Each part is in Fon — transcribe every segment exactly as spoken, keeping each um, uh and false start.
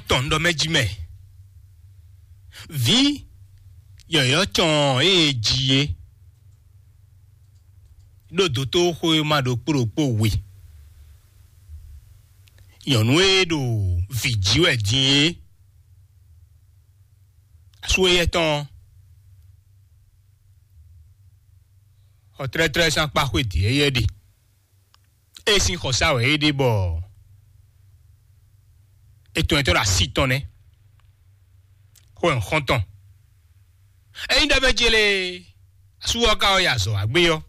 tɔn ɖɔ mɛ jí mɛ. Vǐ yɔ̌yɔ́ cɔn e ji é ɖo dotóxwéma ɖokpó ɖokpó we. Nyɔ̌nu e ɖo vǐ jí wɛ din é, asú éyɛ́ tɔn xɔ tlɛ́tlɛ́ sín akpá xwé dǐ éyɛ́ ɖe. É sín xɔsá wɛ é ɖe bɔ é tɔn nyitɔ́ ɖo así tɔn nɛ́. Xó wɛ un xɔ́n tɔn. Ényí ɖɔ mɛ ce lé asú ɔ́ ka ɔ́ yi azɔ̌ wá gbé ɔ́,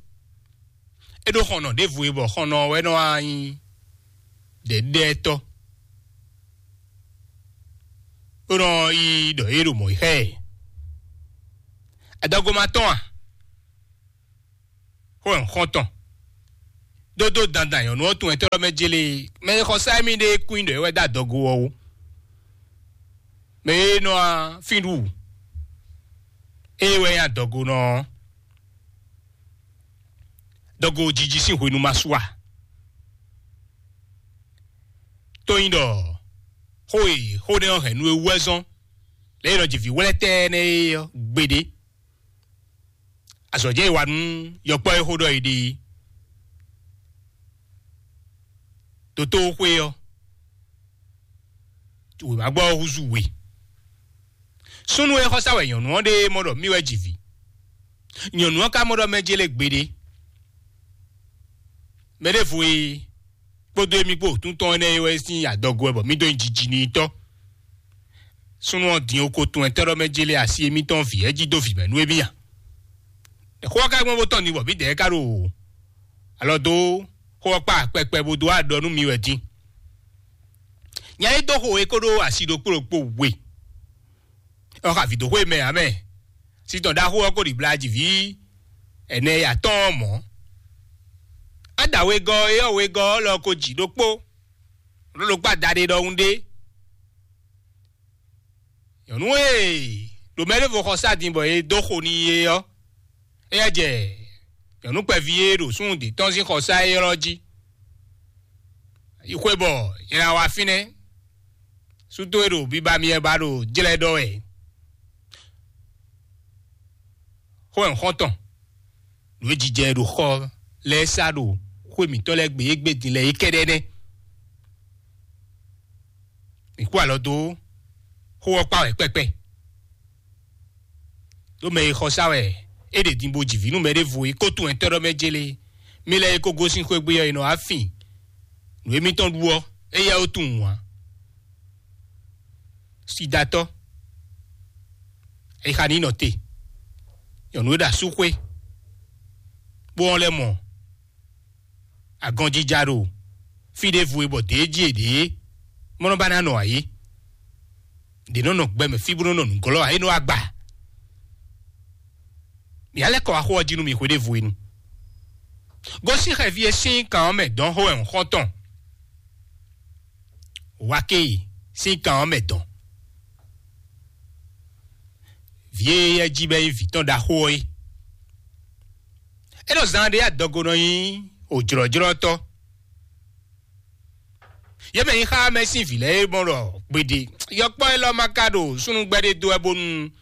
é ɖó xɔnɔ ɖěvo e bɔ xɔnɔ ɔ́ wɛ nɔ wá nyí ɖɛ̌ɖɛ́tɔ́, bó nɔ yi ɖɔ é ɖo mɔ̌ yi xá ɛ. Adɔgo ma tɔn a? Xó wɛ un xɔ́n tɔn. Dódó dandan nyɔ̌nu ɔ́ tunwun tɔ́ mɛ jélé, mɛ e xɔ sá émí ɖé kún ɖɔ é wɛ dó adɔgo ɔ́ wú. Mɛ e nɔ fín ɖu é wɛ nyí adɔgonɔ ɔ́. Dɔgo jiji sín hwenu ma su a? Tó nyí ɖɔ xó e xó nɛ́ ɔ́ hɛn nú é wú wɛ zɔ́n lě e nɔ jɛ vǐ wlɛ́tɛ́ nɛ́ é ɔ́ gbeɖé. Azɔ̌ jɛ e wa nú yɔkpɔ́ e xó ɖɔ è ɖe é. Dotóxwé ɔ́, wěma gbɔ ɔ́ húzú we. Súnnu e xɔsá wɛ nyɔ̌nu ɔ́ ɖe mɔ ɖɔ mì wɛ ji vǐ. Nyɔ̌nu ɔ́ ka mɔ ɖɔ mɛ jélé gbeɖé. Mɛ ɖěvo e kpódó émí kpó wǒtúntɔn énɛ́ é wɛ sín adɔgo wɛ bɔ mí dó nyi jiji n'i tɔ́. Súnnu ɔ́ din oko tun ɛtɛ́ ɖɔ mɛ jélé asi émítɔn vǐ ɛ́ jí dó vǐ mɛ nú émí a? Xó ɔ́ ka gbɔn bó tɔn ni bɔ mǐdɛɛ ka ɖo alɔ dó xó ɔ́ kpa kpɛkpɛ bó dó aɖɔ nú mi wɛ din. Nya e dó xo e kó ɖó asi ɖokpó ɖokpó we ɔ́ xa vǐ dó xwé mɛ ǎ mɛ. Sítɔn ɖaxó ɔ́ kó ɖi blají vǐ ɛnɛ e atɔ́ɔ́n mɔ̌. Ada wegɔ́ e ɔ́ wegɔ́ ɔ́ lɔ ko jǐ ɖokpó, ɖó ɖokpó adaɖé ɖɔhun ɖé. Nyɔ̌nu e ɖo mɛ ɖěvo xɔ sá din bɔ è dó xo n'i é ɔ́, éyɛ́ jɛ nyɔ̌nu kpɛví e ɖo súnnu dě tɔn sín xɔsá élɔ́ jí. Yi xwé bɔ nyɛ ná wá fínɛ́. Sútó e ɖo biba myɛ ba ɖo jlɛ́ ɖɔ wɛ. Xó wɛ un xɔ́n tɔn. Nǔ e jijɛ e ɖo xɔ lɛ́ɛ sá ɖo xwé mǐtɔn lɛ́ɛ gbe égbé din lɛ́ɛ é kɛ́ɖɛ́ nɛ́. Mǐ kú alɔ dó xó ɔ́ kpá wɛ kpɛkpɛ. Ɖó mɛ e xɔ sá wɛ é ɖe din bó ji vǐ nú mɛ ɖěvo e kó tunwun ɛtɛ́ ɖɔ mɛ jélé. Mí lɛ́ɛ e kó gosín xwé gbe ɔ́, è nɔ wá fin nǔ émítɔn ɖu ɔ́, éyɛ́ ó tunwun ǎ. Sidatɔ́, ayixa ní nɔ te. Nyɔ̌nu e ɖo asúxwé, bó wɔn lɛ́ mɔ agɔnjija ɖo fí ɖěvo e bɔ dě jí è ɖě é, mɔ nɔ ba ná nɔ ayǐ. Ɖě nɔ nɔ gbɛ mɛ fí bó nɔ nɔ nǔglɔ́ ǎ, é nɔ wá gba. Mǐ á lɛ́ kɔ wá xó ɔ́ jí nú mi hweɖěvo e nu. Gosín xɛví e sín kan ɔ́ mɛ dɔn xó wɛ un xɔ́n tɔn. Wákèyí sín kan ɔ́ mɛ dɔn. Vǐ e yɛ jí bɔ é nyí vǐ tɔn ɖaxó ɔ́ é. É ɖo zan ɖé adɔgo nɔ nyí òjlɔ́jlɔ́tɔ́. Yě mɛ nyí xá mɛ sín vǐ lɛ́ɛ é mɔ ɖɔ gbeɖe yɔkpɔ́ élɔ́ ma ka ɖo súnnugbɛ́ ɖé dó wɛ bónú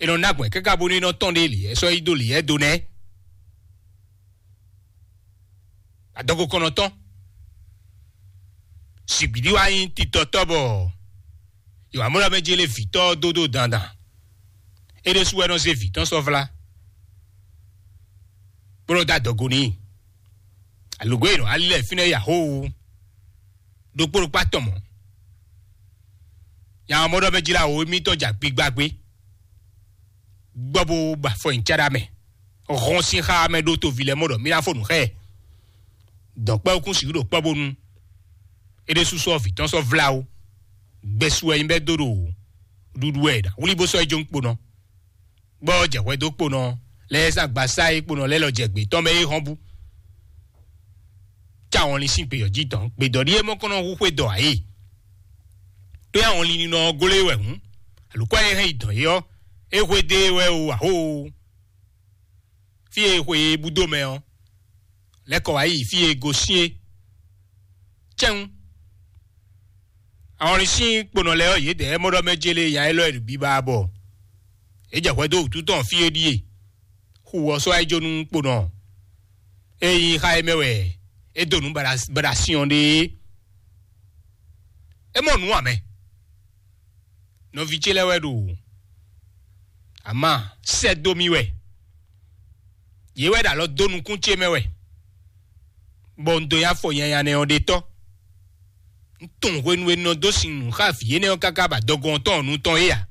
è nɔ ná gbɔn káká bónú é nɔ tɔn ɖe lǐyɛ́ sɔ́ yi dó lǐyɛ́ do nɛ́. Adɔgo kɔnɔtɔn. Sigbidi wá nyí titɔtɔ́ bɔ Yohamɔlɔ mɛ jélé vǐtɔ́ dó dó dandan. É ɖésú wɛ nɔ zé vǐ tɔn sɔ́ vlá, bó nɔ dó adɔgo n'i. Alǒgó e nɔ ali lɛ́ɛ fínɛ́ ya xó ɖokpó ɖokpó atɔn mɔ̌. Nya ɔ́ mɔ ɖɔ mɛ jlá wǒ émítɔn ja gbigba gbé. Gbɔ bó ba afɔ nyi cáɖá mɛ. Hɔn sín xá mɛ ɖó toví lɛ́ɛ mɔ ɖɔ mí ná fó nǔ xá ɛ. Dɔ̌nkpɛ́wúkún sixú ɖo kpɔ́ bónú é ɖésú sɔ́ vǐ tɔn sɔ́ vlá ó. Gbɛsu wɛ nyí bɛ́ dó ɖo ɖuɖu wɛ ɖa wlí bó sɔ́ yi jó kponɔ. Gbɔ jɛ hwɛ dó kponɔ lɛ́ɛ zán gbasá e kponɔ lɛ́ɛ lɔ jɛ gbě tɔn mɛ é hɔn bú. Cá wɔnlin sín gbeyɔ̌ jí tɔn gbedɔ̌ ɖíe mɔ kɔn nɔ hu xwé dɔ ǎ é. Tó yá wɔnlin ninɔ ɔ́ gló é wɛ hǔn, alukó e hɛn yi dɔn é ɔ́, é hwedó e wɛ o ahóo. Fí e xwe e búdó mɛ ɔ́, lɛ́ kɔ wá yi fí e gosín é. Cɛ́n. Àwọn ɔ́ sín kponɔ lɛ́ɛ ɔ́, yědɛɛ mɔ ɖɔ mɛ jélé nya élɔ́ e ɖo biba bɔ é jɛ hwɛ dó wǔtu tɔn fí é ɖíe. Xu ɔ́ sɔ́ wá yi jó nú kponɔ e nyí xá é mɛ wɛ é dó nǔ baɖa baɖa sin ɔ́ ɖe é. É mɔ nǔ ǎ mɛ. Nɔví ce lɛ́ɛ wɛ ɖo ama sɛ́ dó mì wɛ. Yě wɛ ɖo alɔ dó nukún ce mɛ wɛ, bɔ un dó nyi afɔ nyanya nɛ́ ɔ́ ɖe tɔ́. Un tunwun hwenu e un nɔ dó sin nǔ xá vǐ énɛ́ ɔ́ káká ba dɔgɔn tɔn ɔ́ nu tɔn é ǎ.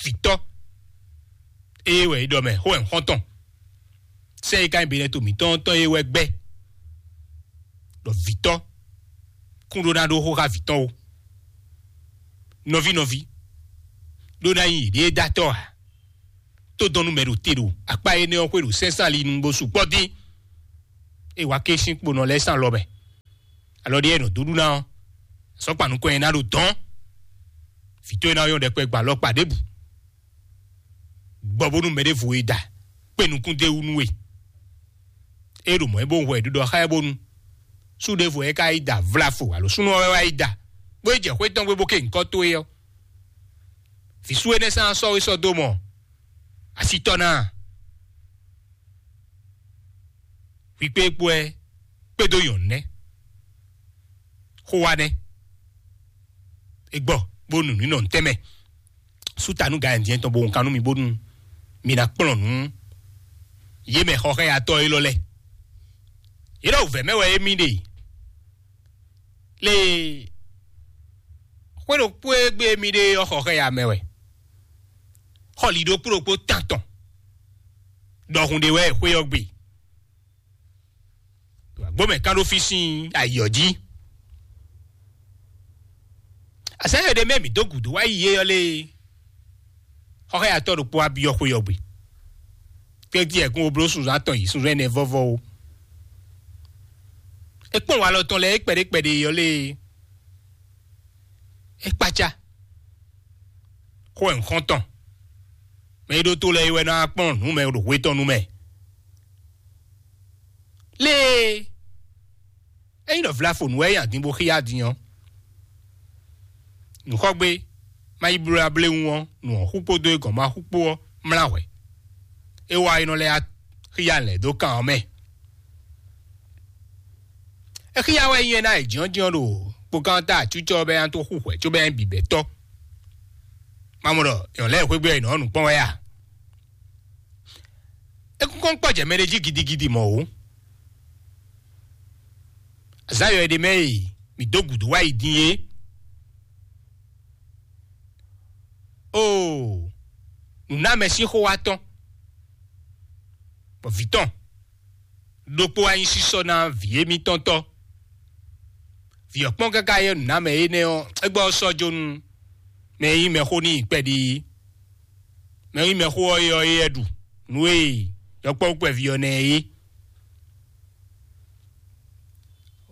Vǐtɔ́, ée wɛ é ɖɔ mɛ xó wɛ un xɔ́n tɔn. Sɛ́ e ka nyí benɛto mǐtɔn tɔn é wɛ gbɛ́ ɖɔ vǐtɔ́ kún ɖó ná ɖó xó xá vǐ tɔn ó. Nɔví nɔví, ɖó ná nyí yěɖée dó atɔ́ ǎ. Tó dɔn nú mɛ ɖo te ɖo akpá énɛ́ ɔ́ xwé ɖo sɛ́nsán ali nu bó sukpɔ́ dín. É wá ké sín kponɔ lɛ́ɛ sín alɔ mɛ. Alɔ ɖé e nɔ dó ɖu ná ɔ́, sɔ́kpa nukɔn e ná ɖo dɔn. Vǐ tɔn e ná nyɔ́ ɖɛkpɛ gba alɔkpa ɖěbǔ. Gbɔ bónú mɛ ɖěvo e da kpé nukún d'é wú nú we. É ɖo mɔ̌ é bó hwɛ ɖiɖɔ xá ɛ bónú sú ɖěvo é ka yi da vlafo alo súnnu ɔ́ wɛ wá yi da, bó yi jɛ xwé tɔn gbe bó ké nyǐkɔ towe ɔ́, vǐ sú énɛ́ sán sɔ́ we sɔ́ dó mɔ asítɔ́ ná a? Hwi kpé kpó ɛ kpédó nyɔ̌nu nɛ́. Xó wa nɛ́. É gbɔ bó nu nǔ nɔ ntɛ́nmɛ. Sú ta nú gǎnjɛ́n tɔn bó wun kan nú mi bónú mi ná kplɔ́n nǔ yě mɛ xɔxɛ́yatɔ́ élɔ́ lɛ́ɛ. Yě ɖɔ wǔvɛ́ mɛ wɛ émí ɖe. Lée xwé ɖokpó e gbé émí ɖe ɔ́ xɔxɛ́ya mɛ wɛ. Xɔli ɖokpó ɖokpó tán tɔn ɖɔhun ɖé wɛ xwé ɔ́ gbe. Gbɔmɛ kan ɖó fí sín ayǐ ɔ́ jí. Azǎn e ɖe mɛ mǐ dó gǔdo wá yi é ɔ́ lée, xɔxɛ́yatɔ́ ɖokpó wá byɔ́ xwé ɔ́ gbe. Kédí ɛkún wo bló sunzán atɔn yi sunzán ɛnɛ vɔ́vɔ́ ó. É kpɔ́n walɔ tɔn lɛ́ɛ é kpɛɖé kpɛɖé ɔ́ lée, é kpácá. Xó wɛ un xɔ́n tɔn. Mɛ e ɖó tó lɛ́ɛ é wɛ ná kpɔ́n nǔ mɛ ɖo hwe tɔn nu mɛ. Lée, ényí ɖɔ vlafonu wɛ é nyi adin bó xíyá din ɔ́, nǔxɔ́gbé má yi bló abléwún ɔ́, nǔ ɔ́ xú kpódó é gɔ̌n má xú kpó ɔ́ mlá hwɛ̌. É wá é nɔ lɛ́ xíyá lɛ̌ dó kan ɔ́ mɛ. É xíyá wɛ nyí é ná è jǐnjɔ́n ɖo kpokán ta acúcɔ bɛ́ nya tó xú hwɛ̌ cóbɛ́ nya bǐbɛ́tɔ́. Má mɔ ɖɔ nyɔ̌ lɛ́ɛ xwégbé ɔ́ è nɔ ɔ́ nǔ kpɔ́n wɛ a? É kúnkɔ́n kpɔ́ jɛ mɛ ɖé jí gidigidi mɔ̌ ó. Azǎn yɔ è ɖe mɛ e mǐ dó gǔdo wá yi din é. Oo, nǔnámɛ sín xó wá tɔ́n, bɔ vǐ tɔn ɖokpó wá nyí sísɔ́ ná vǐ émítɔn tɔ́. Vǐ ɔ́ kpɔ́n káká yɛ nǔnámɛ énɛ́ ɔ́, é gbɔ ɔ́ sɔ́ jó nú mɛ e nyí mɛxó n'i kpɛɖi, mɛ e nyí mɛxó ɔ́ é ɔ́ é wɛ ɖu nǔ e yɔkpɔ́vú kpɛví ɔ́ ná ɛ é.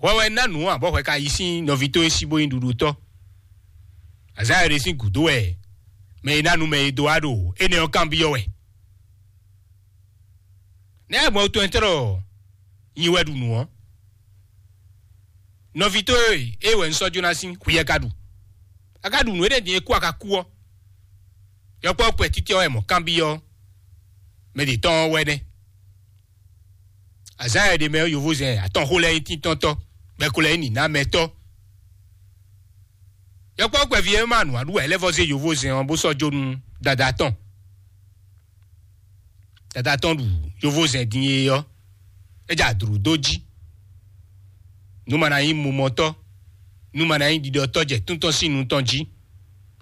Hwɛ wɛ ná nǔ ǎ bɔ hwɛ ka yi sín nɔví towe sí bó nyí ɖuɖutɔ́. Azǎn e ɖe sín gǔdo wɛ mɛ e ná nu mɛ e dó wá ɖo énɛ́ ɔ́ kanbyɔ́ wɛ. Nɛ̌ gbɔn tɔn tlɔ nyi wɛ ɖu nǔ ɔ́? Nɔví towe e wɛ un sɔ́ jó ná sín hwiyɛ ka ɖu. A ka ɖu nǔ énɛ́ din e kú a ka kú ɔ́, yɔkpɔ́ kpɛtítí ɔ́ wɛ mɔ kanbyɔ́ mɛ ɖě tɔn ɔ́ wɛ nɛ́. Azǎn e ɖe mɛ ɔ́, yovózɛn atɔn xó lɛ́ɛ nyí tíntɔ́ntɔ́, bɛ́ ko lɛ́ɛ nyí nǐnámɛtɔ́. Yɔkpɔ́ kpɛví e ma nǔ wa ɖu wɛ é lɛ́ vɔ́ zé yovózɛn ɔ́ bó sɔ́ jó nú dada tɔn. Dada tɔn ɖu yovózɛn din e ɔ́, é jɛ adǔɖú dó jí. Nú ma ná nyí mumɔtɔ́, nú ma ná nyí ɖiɖɔtɔ́ jɛ tún tɔn sín nu tɔn jí.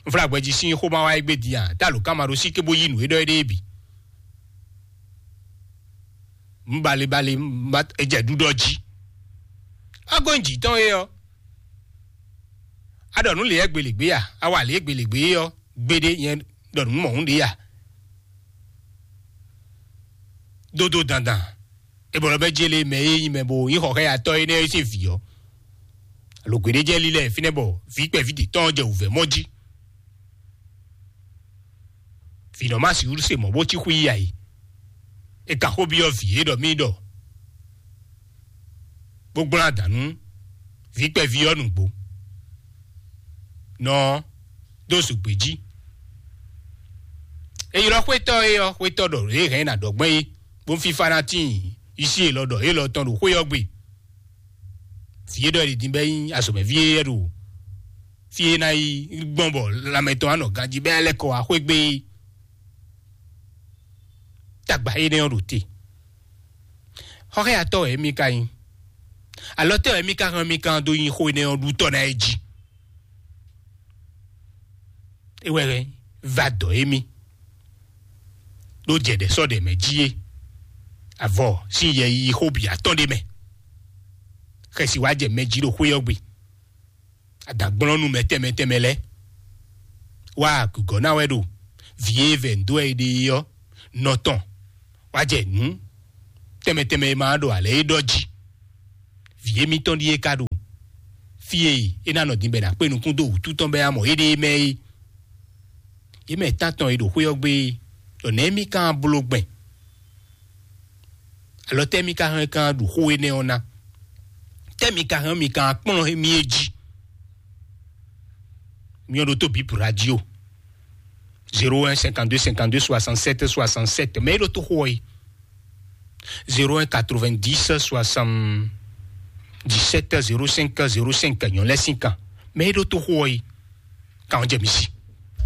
Un flá gbɛjí sín xó ma wá égbé din a, tá alǒkan ma ɖó sí cóbó yí nǔ e ɖɔ éɖée bǐ. Un balebale, é jɛ ɖuɖɔ jí. Agɔ́nyi jǐ tɔn é ɔ́, a ɖɔ nǔ lě ɛ gbelegbé a, a wa lě e gbelegbé é ɔ́, gbeɖé nyɛ ɖɔ nǔ mɔ̌hun ɖě a. Dódó dandan, é bɔ lɔ bɛ jélé mɛ e nyí mɛ bo nyí xɔxɛyatɔ́ énɛ́ e sín vǐ ɔ́, alo gbeɖé jɛ lílɛ fínɛ́ bɔ vǐ kpɛví ɖě tɔn jɛ wǔvɛ́ mɔ jí. Vǐ nɔ má sixú se mɔ̌ bó cí xwí yí ayǐ. É ka xó byɔ́ vǐ e ɖɔ mì ɖɔ bó gblán adǎn nú vǐ kpɛví ɔ́ nǔgbó. nɔ dó zǒgbé jí. È ylɔ́ xwétɔ́ é ɔ́, xwétɔ́ ɖɔ lě hɛn ná ɖɔ gbɛn é, bó fífá ná tíin yí sí élɔ́ ɖɔ élɔ́ tɔn ɖo xwé ɔ́ gbe. Vǐ é ɖɔ è ɖi din bɛ́ nyí azɔ̌mɛví é ɖo fí é ná yi gbɔn bɔ lanmɛ tɔn á nɔ ganjí bɛ́ lɛ́ kɔ wá xwé gbé é. Tagba énɛ́ ɔ́ ɖo te. Xɔxɛ́yatɔ́ wɛ émí ka nyí. Alɔ tɛ́ wɛ émí ka hɛn émí kan dó nyi xó énɛ́ ɔ́ ɖutɔ́ ná é jí? É wɛ va dɔ émí ɖó jɛ ɖɛ sɔ́ ɖɛ mɛ jí é. Avɔ sín yɛ yi xó bǐ atɔ́ ɖé mɛ. Xɛsi wá jɛ mɛ jí ɖo xwé ɔ́ gbe. Adǎgblɔ́nú mɛ tɛnmɛ tɛnmɛ lɛ́ɛ wá gǔgɔ́ ná wɛ ɖo vǐ e vɛ ndo wɛ è ɖe é ɔ́ nɔ tɔn wá jɛ nǔ tɛnmɛ tɛnmɛ e ma ɖo alɛ é ɖɔ jí. Vǐ émítɔn ɖíe ka ɖo fí e é ná nɔ din bɔ è nǎ kpé nukún dó wǔtu tɔn bɔ é ná mɔ éɖée mɛ é. Yě mɛ tántɔn e ɖo xwé ɔ́ gbe é, ɖɔ nɛ̌ mí ka bló gbɛn? Alɔ tɛ́ mí ka hɛn kan ɖu xó énɛ́ ɔ́ ná? Tɛ́ mí ka hɛn mí kan kplɔ́n mì é jí? Mí ɔ́ ɖo tó bǐ radio zéro un cinquante-deux cinquante-deux soixante-sept soixante-sept, mɛ é ɖo tó xó ɔ́ yi zéro un quatre-vingt-dix soixante-dix-sept zéro cinq zéro cinq nyɔ̌ lɛ́ sín kan. Mɛ é ɖo tó xó ɔ́ yi kan ɔ́ jɛ mì sí.